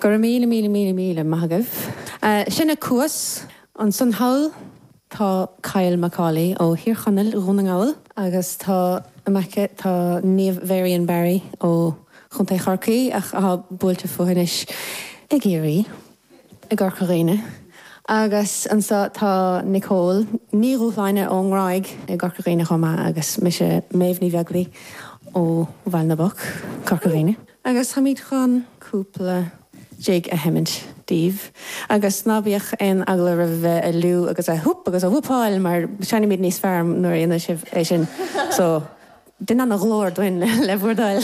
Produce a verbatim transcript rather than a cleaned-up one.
Go míle míle míle míle maith agaibh. Sinne Cuas ansan thall tá Kyle Macaulay ó Thír Chonaill Dhún na nGall agus tá amach tá Niamh Varian Barry ó Chontae Chorcaí ach atá buailte fúithi anois i gCiarraí i gCorca Dhuibhne. Agus anso tá Nicole Ní Dhúshláine ón nGráig i gCorca Dhuibhne chomh maith agus mise Méabh Ní Bheaglaoich ó Bhaile na bPoc Corca Dhuibhne. Agus táimid chun cúpla jig a sheinnt daoibh. Agus ná bíodh aon eagla roimh bheith ag liú agus a whoop agus a whoopáil mar seinnimid níos fearr nuair a dhéanann sibh é sin. So déan an ghlór dúinn le bhur dtoil.